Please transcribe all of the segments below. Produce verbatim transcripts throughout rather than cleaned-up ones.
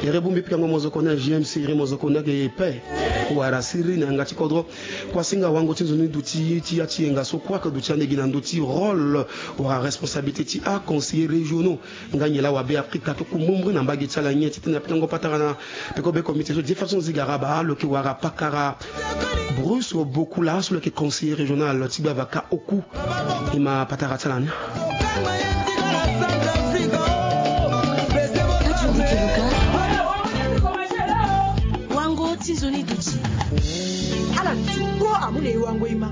Ere bongbi pikango mozoko na G M C, ere mozoko na ge pe. Wara siriri na yanga ti kodro. Kuasinga wango ti nzoni duti ti ya ti yenga so kuaka duti ande gi na ndö ti rôle wala responsabilité ti aconseillers régionaux. Nga nyen laa wa Beafrika ti ku mbumbri na mbage ti ala nyen ti tene na pikango patara na peko be comité so de façon zigara baa lo yeke wara pakara Bruce Bokula so lo yeke conseiller régional ti Gbavaka Oku. E ma patara ti ala ni. Wango ti nzoni duti. Ala ti ko amu na e wango e ma.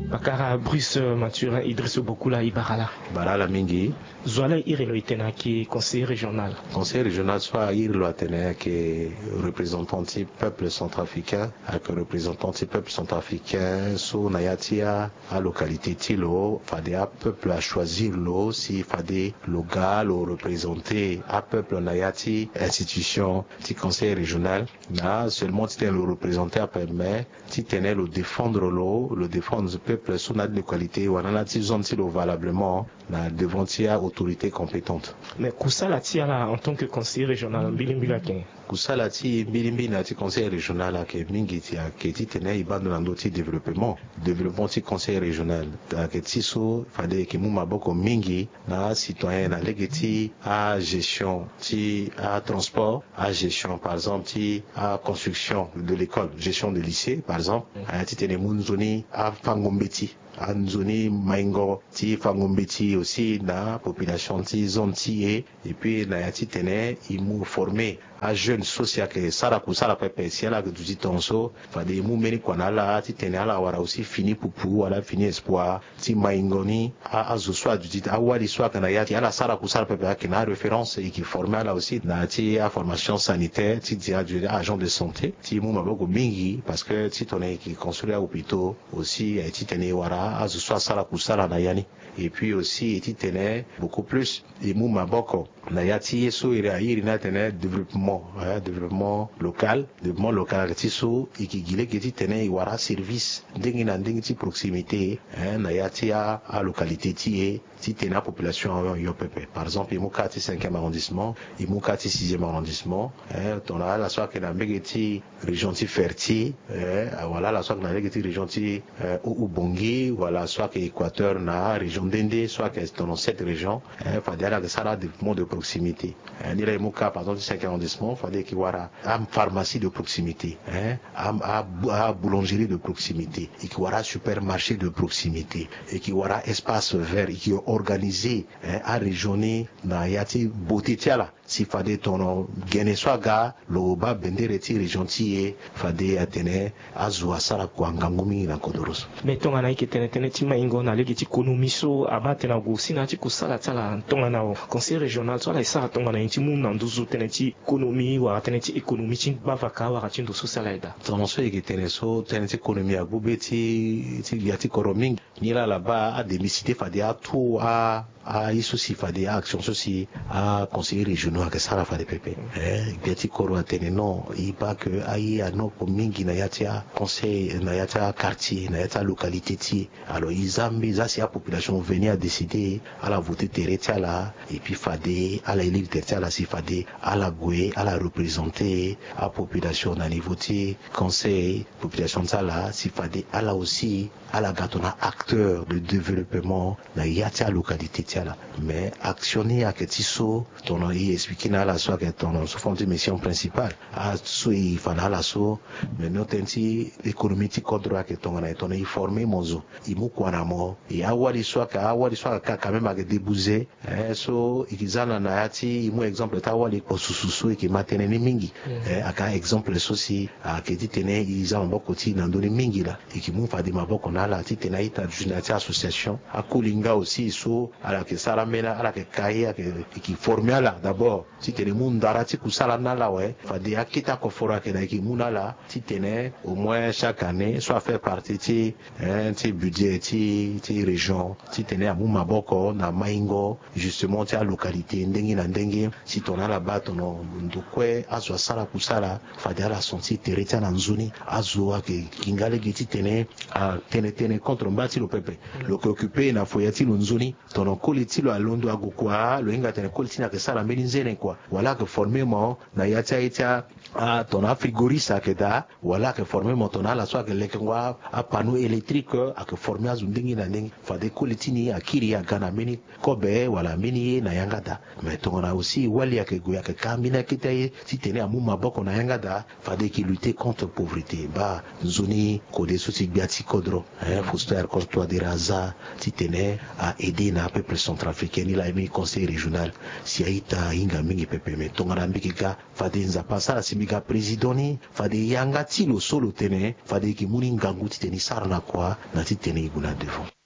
Pakara Bruce Mathurin Idriss Bokula, e bara laa. Bara laa mingi. Zo wa laa iri lo e tene ayeke conseiller régional. Conseiller régional so airi lo atene ayeke représentant ti peuple centrafricain, ayeke représentant ti peuple centrafricain so na ya ti a, alocalité ti lo, fade apeuple achoisir lo si fade lo ga lo représenté apeuple na ya ti institution ti conseil régional. Na seulement ti tene lo représenté ape, mais ti tene lo défendre lo, lo défendre peuple so na ya ti localité wala na ya ti zone ti lo valablement na devant ti a autorité compétente. Mais kusala ti ala en tant que conseiller régional mbilimbili ayeke nyen? Kusala ti mbilimbili na ya ti conseil régional ayeke mingi, ti ayeke ti tene e baa ndo na ndö ti développement. Développement ti conseil régional ayeke ti so fade e yeke mu maboko mingi na acitoyen na lege ti agestion ti atransport, agestion par exemple ti aconstruction de l'école, gestion de lycée par exemple. Aya ti tene e mu nzoni afango mbeti, anzoni maingo ti fango mbeti aussi na population ti zone ti e. Et puis na ya ti tene e mu former ajeune so si ayeke sara kusala pepe si ala yeke duti tongaso, fade e mu mbeni kua na ala ti tene ala wara aussi fini pupu wala fini espoir ti maingo ni. A, azo so aduti, awali so ayeke na ya ti ala sara kusala pepe ayeke na aréférence, e yeke former ala aussi na ya ti aformation sanitaire ti di aduti agent de santé ti mu maboko mingi, parce que ti tongana e yeke construire ahôpitaux aussi, e ti tene e wara azo so asara kusala na ya ni. Et puis aussi e ti tene beaucoup plus e mu maboko na ya ti ye so iri airi ni atene développement, hein, développement local. Développement local ayeke ti so e yeke gi lege ti tene e wara aservice ndenge na ndenge ti proximité, hein, na ya ti a, alocalité ti e, ti tene apopulation ayo pepe. Par exemple e mu ka ti cinquième arrondissement, e mu ka ti sixième arrondissement, hein, tongana ala so ayeke na mbege ti région ti Ferti, eh, wala ala so ayeke na lege ti région ti, eh, Haut-Ubangi, wala so ayeke Équateur na région nde nde so ayeke dans cette région, eh, fade ala yeke sara développement de proximité. Eh, ni laa e mu ka par exemple ti cinquième arrondissement, fade e yeke wara apharmacie de proximité, eh, a, a, aboulangerie de proximité, e yeke wara supermarché de proximité, e yeke wara espace vert, e yeke organiser, eh, arégion ni na ya ti beauté ti ala. Si fade tongana gene so aga lo baa bendere ti région ti e, fade atene azo asara kua ngangu mingi na kodoro so. Mais tongana e yeke tene tënë ti maingo na lege ti konomi so abaa tene ague aussi na ya ti kusala ti ala tongana conseil régional so ala e sara tongana nyen ti mu na nduzu tënë ti konomi wala tënë ti économie ti gbavaka wala ti ndo so si ala e daa? Tongana so e yeke tene so tënë ti konomi agbu be ti, ti gbia ti kodro mingi. Nilaa ala baa ademisi te fade atu a, aye so si fade a-action so si aconseillers régionaux ayeke sara fade pepe. Eh, gbia ti kodro atene non, e baa ke aye anoko mingi na ya ti aconseil, na ya ti aquartier, na ya ti alocalité ti e. Alors e za mbi, e za si apopulation veni adécider, ala voter tere ti ala, et puis fade ala élire tere ti ala si fade ala gue ala représenter apopulation na niveau ti conseil, population ti ala si fade ala aussi ala ga tongana acteur de développement na ya ti alocalité ti ala. Mais action ni ayeke ti so tongana e expliquer na ala so ayeke tongana sous forme ti mission principale, aso e fa na ala so. Mais no tënë ti économie ti kodro ayeke tongana e, tongana e former mo zo, e mu kua na mo, e awali so ayeke, awali so ayeke ka quand même ayeke déboucher. Eh, so e ke za na, na ya ti e mu exemple ti awali kpo susu so e ke ma tënë ni mingi. Eh, ayeke exemple so si ayeke ti tene e za maboko ti e na ndö ni mingi laa. E ke mu fade maboko na ala ti tene a-ita duti na ya ti association. Akoli nga aussi so ala yeke sara ambeni, ala yeke ka ye, ayeke, e ke former ala d'abord ti tene e mu ndara ti kusala ni na ala awe. Fade akete akoforo ayeke na e ke mu na ala ti tene au moins chaque année so a fait partie ti, eh, ti budget ti, ti région, ti tene amu maboko na maingo justement ti alocalité ndenge na ndenge. Si tongana ala baa tongana ndo kue azo asara kusala, fade ala sentir tere ti ala na nzoni. Azo ayeke gi nga lege ti tene atene tënë contre mba ti lo pepe. Lo yeke occuper na foyer ti lo nzoni. Tongana Koli ti lo alondo ague kua, lo hinga tene koli ti ni ayeke sara mbeni nzene kua, wala ayeke forme mo na ya ti aye ti a, tongana afrigoriste ayeke daa, wala ayeke forme mo tongana ala so ayeke lekengo apanneau électrique, ayeke forme azo ndenge na ndenge. Fade koli ti ni akiri aga na mbeni kobe wala mbeni ye na yanga daa. Mais tongana aussi wali ayeke gue ayeke ka mbeni akete aye titene amu maboko na yanga daa, fade e ke lutter contre pauvreté. Baa nzoni kode so ti gbia ti kodro, eh, Faustin Archange Touadéra aza titene a aider na apeuple centrafricain ni laa, e mbeni conseil régional si a-ita ahinga mingi pepe. Mais tongana mbi yeke ga, fade Nzapa asara si mbi ga président ni, fade yanga ti lo so lo tene fade e yeke mu ni ngangu titene e sara na kua na titene e gue na devant.